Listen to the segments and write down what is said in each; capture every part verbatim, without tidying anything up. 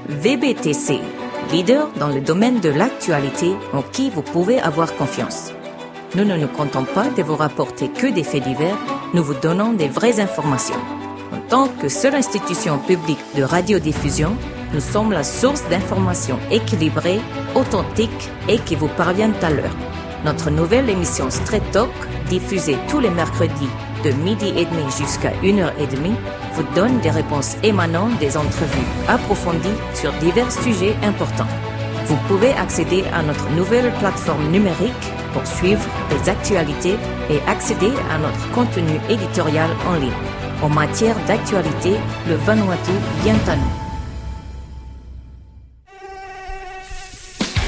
V B T C, leader dans le domaine de l'actualité en qui vous pouvez avoir confiance. Nous ne nous contentons pas de vous rapporter que des faits divers, nous vous donnons des vraies informations. En tant que seule institution publique de radiodiffusion, nous sommes la source d'informations équilibrées, authentiques et qui vous parviennent à l'heure. Notre nouvelle émission Straight Talk, diffusée tous les mercredis de midi et demi jusqu'à une heure et demie, vous donne des réponses émanant des entrevues approfondies sur divers sujets importants. Vous pouvez accéder à notre nouvelle plateforme numérique pour suivre les actualités et accéder à notre contenu éditorial en ligne. En matière d'actualité, le Vanuatu vient à nous.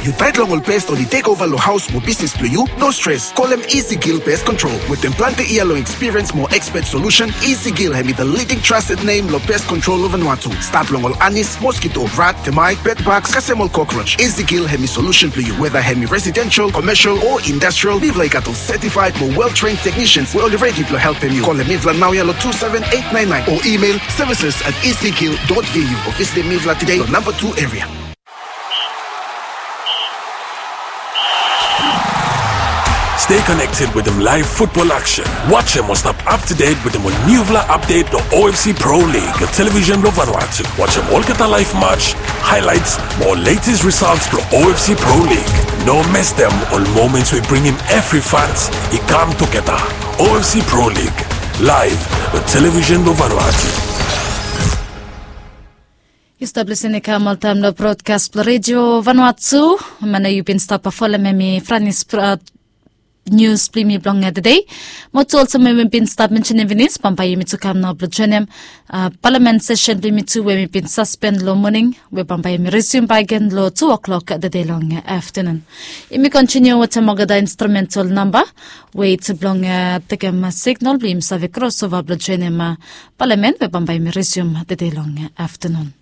Yu taet long ol pes oli tek ova long haos mo bisnis blong yu? No stres, kolem Easy Kill Pest Control. Wetem plante yia long ekspiriens mo ekspet solusen, Easy Kill hemi the leading trusted name long pest control long Vanuatu. Stat long ol anis, moskito, rat, temait, bedbaks, kasem ol kokroj. Easy Kill hemi solusen blong yu. Weda hemi residensel, komesel o indastral, mifala i gat ol setifaed mo wel tren teknisians we oli redi blong helpem yu. Kolem mifala naoia long two seven eight nine nine o email services at easykill dot V U o visitem mifala tede long namba two eria. Stay connected wetem live football action. Wajem o stap up to date wetem ol niufala update blong O F C Pro League, long television blong Vanuatu. Wajem olgeta live match, highlights mo latest results blong O F C Pro League. No mestem ol moments we bringim evri fans i kam tugeta. O F C Pro League, live long television blong Vanuatu. Yu stap lisin i kam oltaem long brodkas blong Redio Vanuatu. Man we yu bin stap folem hemi Franis nius blong yumi blong tede. Mo tu olsem we mi bin stap mensenem finis, bambae yumi tu kam nao blong joenem palamen sesen blong yumi tu we mi bin saspen long moning, we bambae yumi risium bakegen long tu o'klok tede long aftenun. Yumi kontiniu wetem olgeta instrumental namba we i tu blong tekem signal blong yumi save krosova blong joenem palamen we bambae yumi risium tede long aftenun.